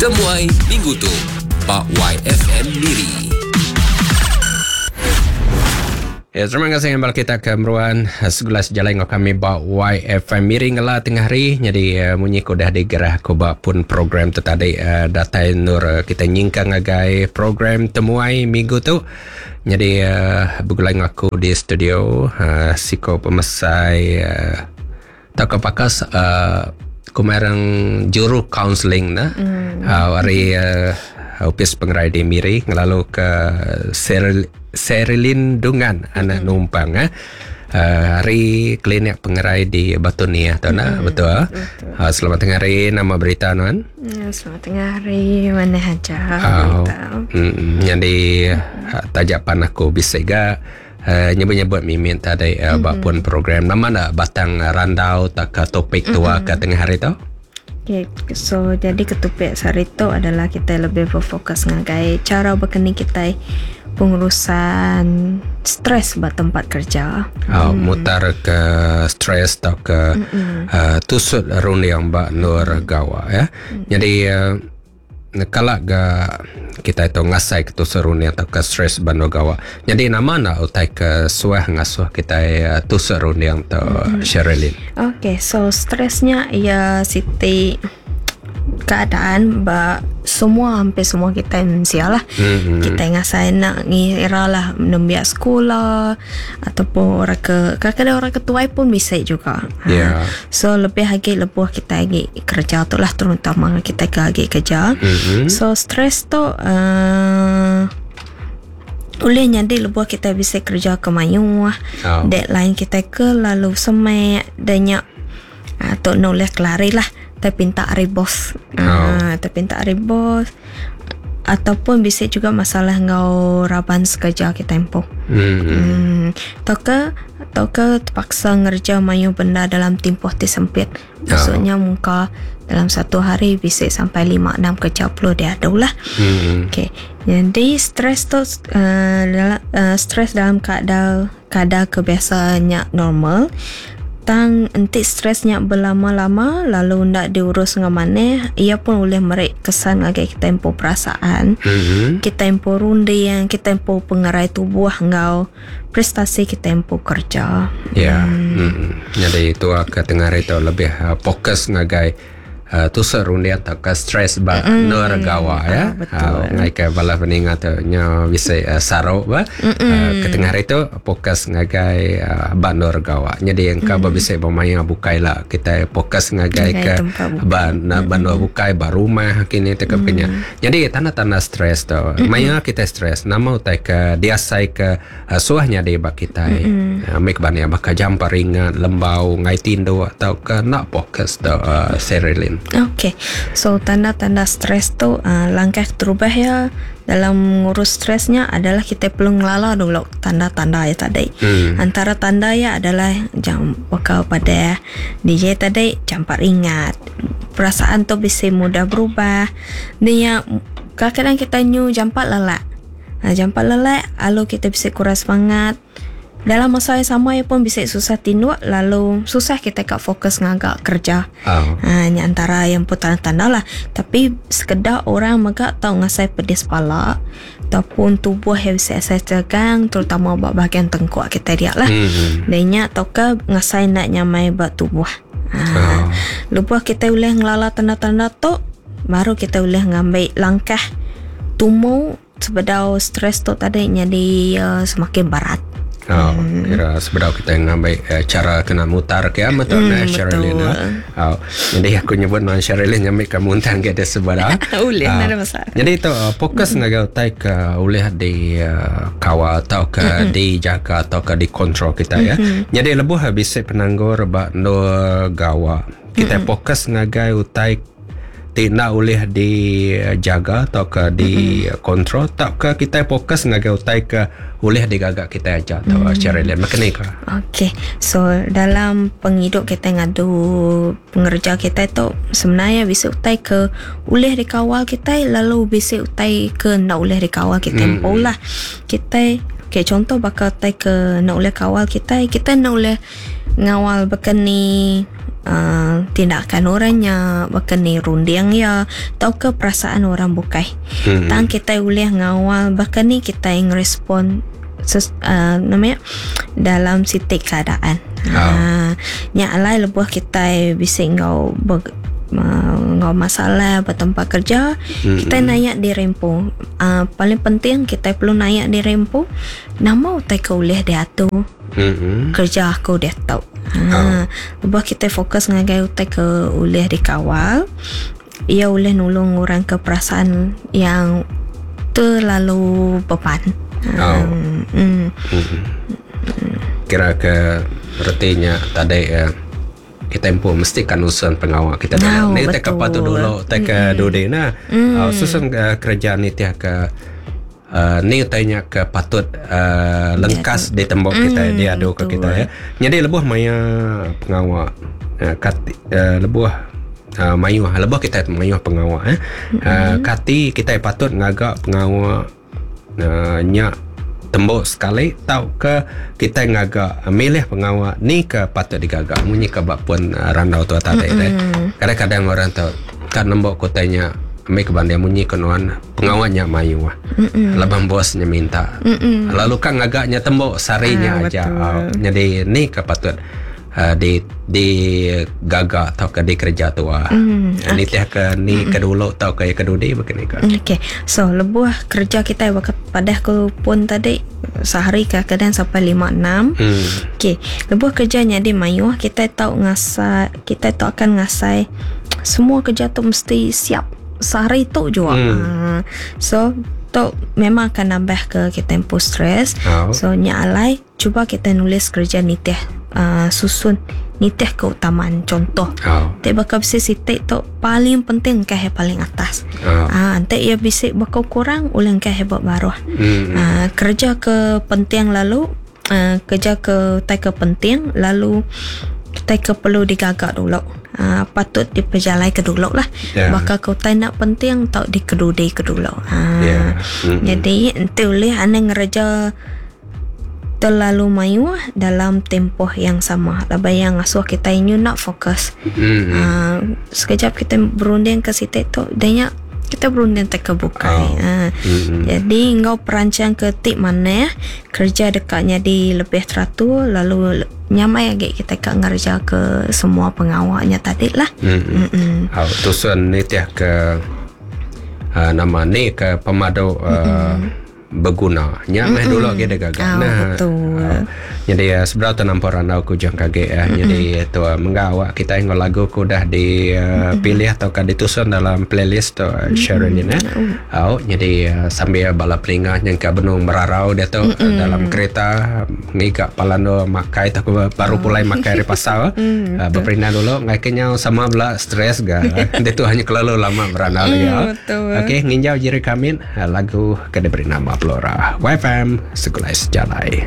Temuai minggu tu ba YFM Miri. Ya, terima kasih ngambal kita ke meruan eh, segula sejalai enggau kami ba YFM Miri ngela tengah hari. Jadi eh, munyi ke udah digerah aku ba pun program tu tadi eh, datai nur kita nyingkang ngagai program temuai minggu tu. Jadi begulai enggau aku di studio siko pemesai tauka pakas kumerang juru kaunseling ne ari opis pengerai di Miri ngelalu ke Sherilyn Dungan anak Numpang eh. Ari klinik pengerai di Batu Niah tu nah betul. Selamat tengah hari nama berita nuan? Ya, selamat tengah hari manah aja berita. Nyadi taja pan aku bisi ga nyebut-nyebut mimit tadi ba pun program nama enda batang randau tauka topik tua ke tengah hari tu? Okay, so jadi ke topik sehari tu adalah kita lebih berfokus ngagai cara bekeni kitai pengurusan stres ba tempat kerja. Oh, mutar ke stres tauka uh, tusut runding ba endur gawa ya. Jadi uh, kala ga kita itu ngasai ke tusut runding tauka stres ba endur gawa. Jadi nama enda utai ke suah ngasuh kita uh, tusut runding tu Sherilyn? Okay, so stresnya ia siti keadaan ba semua hampir semua kita mensia lah. Kita ngasai nak ngira lah nembiak sekolah ataupun orang ke kadang-kadang orang ke tuai pun bisa juga. So lebih lagi lebuh kita lagi kerja tu lah terutama kita ke lagi kerja. So stres tu ulih nyadi lebuh kita bisa kerja ke mayuh, deadline kita ke lalu semak dan nya tu enda ulih kelari lah tai pinta ari bos. Tai pinta ari bos ataupun bisi juga masalah enggau raban sekerja kitai empu. Tauka tauka terpaksa ngereja mayuh benda dalam timpuh ti sempit. Maksudnya mungka dalam satu hari bisi sampai lima enam kerja perlu diadu lah. Okey. Jadi stres tu stres dalam keadaan Kadar ke biasa nya normal. Tang enti stres nya belama-lama lalu enda diurus enggau manah, iya pun ulih meri kesan ngagai kitai empu perasaan, kitai empu runding, kitai empu pengerai tubuh enggau prestasi kitai empu kereja. Ya. Nyadi tua ke tengah hari tu lebih fokus ngagai Tusut runding tauka stress ba endur gawa ya. Ngai ke bala peninga tu nyo bisi saru ba ke tengah hari tu fokus ngagai ba endur gawa. Nyadi engka ba bisi ba maya bukai la kitai fokus ngagai ke ba endur bukai ba rumah kini tauka baka nya. Nyadi tanda-tanda stress tu maya kitai stress nama utai ke diasai ke Suah nyadi ba kitai mih ba nya baka jampa ringat, lembau, enggai tinduk tauka enda fokus tu Sherilyn. Okey. So tanda-tanda stres tu langkah keterubah iya dalam ngurus stres nya adalah kitai perlu ngelala dulu tanda-tanda iya tadi. Antara tanda iya adalah jam baka padah DJ tadi jampa ringat, perasaan tu bisi mudah berubah, nya kadang-kadang kitai nyu jampat lelak. Jampat lelak lalu kita bisi kurang semangat. Dalam masa yang sama iya pun bisi susah tinduk lalu susah kita ka fokus ngaga kerja. Ha nya antara yang empu tanda-tanda lah. Tapi sekeda orang mega tau ngasai pedis pala ataupun tubuh iya bisi asai tegang terutama ba bahagian tengkuk kitai dia lah. Dan nya tauka ngasai enda nyamai ba tubuh. Ha lebuh kitai ulih ngelala tanda-tanda tu baru kitai ulih ngambi langkah tumu sebedau stres tu tadi nyadi semakin berat. Oh, kira sebedau kita ngambi cara kena mutar ke ama tu nah Sherilyn. Oh, jadi aku nyebut non Sherilyn nyambi ke muntang ke dia sebedau. Ulih uh, nada masalah. Jadi tu fokus ngagai utai ke ulih di kawal atau ke dijaga atau ke dikontrol kita ya. Jadi lebuh bisi penanggur ba endur gawa. Kita fokus ngagai utai ti enda ulih dijaga tauka dikontrol tauka kitai fokus ngagai utai ke ulih digaga kitai aja tu Sherilyn baka ni ka. Okey so dalam pengidup kitai ngadu pengereja kitai tu sebenarnya bisi utai ke ulih dikawal kitai lalu bisi utai ke enda ulih dikawal kitai empu lah. Kitai okey contoh baka utai ke enda ulih kawal kitai, kitai enda ulih ngawal baka ni. uh, tindakan orangnya, baka ni runding iya tauka perasaan orang bukai. Tang kitai ulih ngawal baka ni kitai ngerespon ses, uh, nama nya dalam siti keadaan. Ha, nya alai lebuh kitai bisi enggau ber, uh, enggau masalah ba tempat kerja, kitai nanya diri empu. Uh, paling penting kitai perlu nanya diri empu nama utai ke ulih diatur kerja aku diatu. Ha, lebuh kitai fokus ngagai utai ke ulih dikawal, ia ulih nulung orang ke perasaan yang terlalu beban. Oh. Kira ke retinya tadi kita empu mesti kan nusun pengawa kita dulu. Oh, Ni kita ke patut betul. dulu, kita ke dudi nah. Susun kerja ni tiah ke ni utainya ke patut lengkas ditembok kita diadu ke kita ya. Jadi lebuh maya pengawa kat, lebuh mayuh lebuh kita mayuh pengawa kati kita patut ngaga pengawa nya tembok sekali tau ke kita ngaga milih pengawa ni ke patut digaga munyi ke bak pun randau tu tadi. Kadang-kadang orang tu kan nembok kotanya ambil kebanding munyi ke nuan pengawanya mayuh. Laban bosnya minta. Lalu kan ngagaknya tembok sarinya aja. Jadi ni ke patut di di gaga atau ke dikerja tua. Ni teh ke ni ke dulu atau ke ke dudi begini ke. Okey. So lebuh kerja kita bakat padah ku pun tadi sehari kadang sampai 5 6. Okey, lebuh kerja jadi mayuh kita tahu ngasai, kita tahu akan ngasai semua kerja tu mesti siap sehari tu juga. So tu memang akan nambah ke kita tempoh stres. So nya alai cuba kita nulis kerja nitih susun nitih keutamaan contoh. Tik bakal bisi sitik tu paling penting ke paling atas. Nanti ia bisi bakal kurang ulang ke hebat baruh. Kerja ke penting lalu kerja ke tai ke penting lalu tai ke perlu digagak dulu. Patut diperjalai ke dulu lah. Bakal ke utai nak penting tau dikedudi ke dulu. Jadi enti ulih ane ngereja terlalu mayuh dalam tempoh yang sama. Laban yang ngasuh kita inyu nak fokus. Sekejap kita berunding ke situ tu, danya kita berunding tak ke bukai. Jadi ngau perancang ke tik mana kerja dekatnya di lebih teratur lalu nyamai lagi kita kat ngerja ke semua pengawaknya tadi lah. Tusun ni tiah ke nama ni ke pemadu berguna. Nya meh dulu lagi dia gagak. Nah, betul. Jadi sebelah tu nampak randau ku jang kaget ya. Jadi tu menggawak kita yang lagu ku dah dipilih atau kan ditusun dalam playlist tu Sherilyn ya. Jadi sambil bala peninga yang ke benung merarau dia tu dalam kereta ngigak palando makai tak baru pulai makai dari pasar. Berperindang dulu ngai kenyau sama bela stres ga. Dia tu hanya kelalu lama berandau lagi. Okey, nginjau jiri kamin lagu ke diberi nama Flora. YFM Segulai Sejalai.